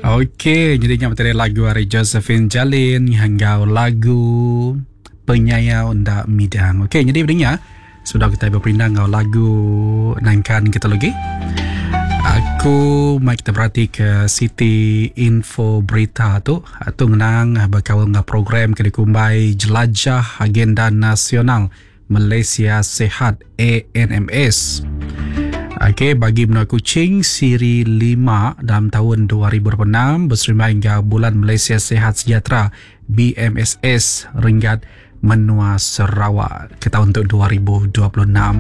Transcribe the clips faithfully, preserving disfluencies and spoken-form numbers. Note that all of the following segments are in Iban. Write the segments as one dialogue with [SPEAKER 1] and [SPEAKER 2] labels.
[SPEAKER 1] Okey, jadi nya materi lagu ari Josephine Jalin enggau lagu Penyayau Enda Midang. Okey, jadi berinya sudah kita berperindang enggau lagu nangkan kita lagi. Aku mai kita berhati ke City Info Berita tu atau ngenang berkaul dengan program ke dikumbai Jelajah Agenda Nasional Malaysia Sihat A N M S. Okey, bagi menua Kuching siri lima dalam tahun dua ribu dua puluh enam berserimbai hingga Bulan Malaysia Sihat Sejahtera B M S S Renggat Menua Sarawak ke tahun untuk dua ribu dua puluh enam.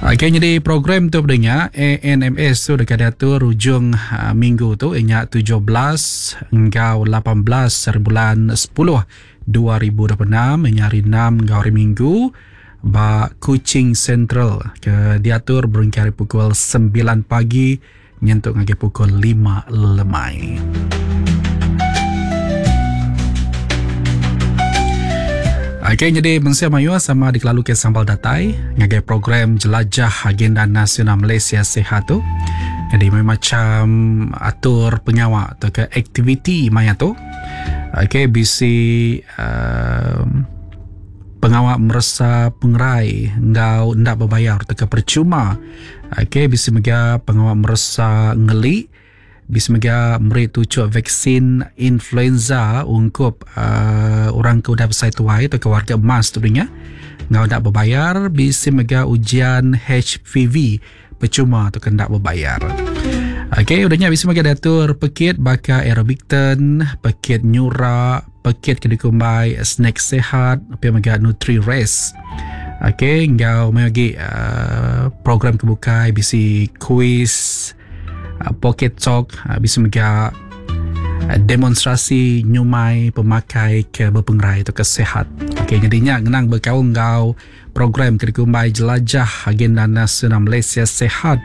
[SPEAKER 1] Okey, jadi program tu pendengar A N M S tu dekat diatur hujung uh, minggu tu ianya tujuh belas hingga lapan belas bulan sepuluh dua ribu dua puluh enam, ianya hari enam hingga hari Minggu ba Kuching Central ke diatur berengkah pukul sembilan pagi nyentuk ngagai pukul lima lemai. Okey, jadi mensia mayu sama dikelalu ke sambal datai ngagai program Jelajah Agenda Nasional Malaysia Sihat tu. Jadi macam atur pengawak atau ke aktiviti maya tu. Okey, B C um, pengawak meresa pengerai ngau ndak berbayar atau ke percuma. Okey, B C mega pengawak meresa ngeli, B C mega meri tucuk vaksin influenza ungkup uh, orang ke udah besar tuai atau ke warga emas tu nya. Ngau ndak berbayar, B C mega ujian H P V percuma atau ke ndak berbayar. Okey, udahnya B C mega diatur pekit baka aerobik ten, pekit nyura, pekit kedikumbai snack sehat, apa mega nutri race. Okey, ngau lagi uh, program kebukai B C quiz, uh, pocket talk, uh, B C mega uh, demonstrasi nyumai pemakai ke berpengerai atau ke sehat. Okey, jadinya ngenang berkaul ngau program kedikumbai Jelajah Agenda Nasional Malaysia Sihat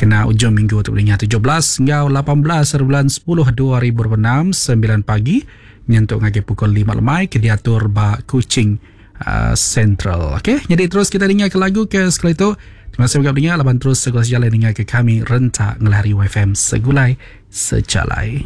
[SPEAKER 1] kena ujung minggu tu bolehnya tujuh belas hingga lapan belas bulan sepuluh dua ribu dua puluh enam sembilan pagi nyentuk ngagai pukul lima lemai ke diatur ba Kuching uh, Central. Okey, jadi terus kita dengar ke lagu ke sekali tu. Terima kasih banyak dengar laban terus segala jalan dengar ke kami rentak ngelari Y F M segulai sejalai.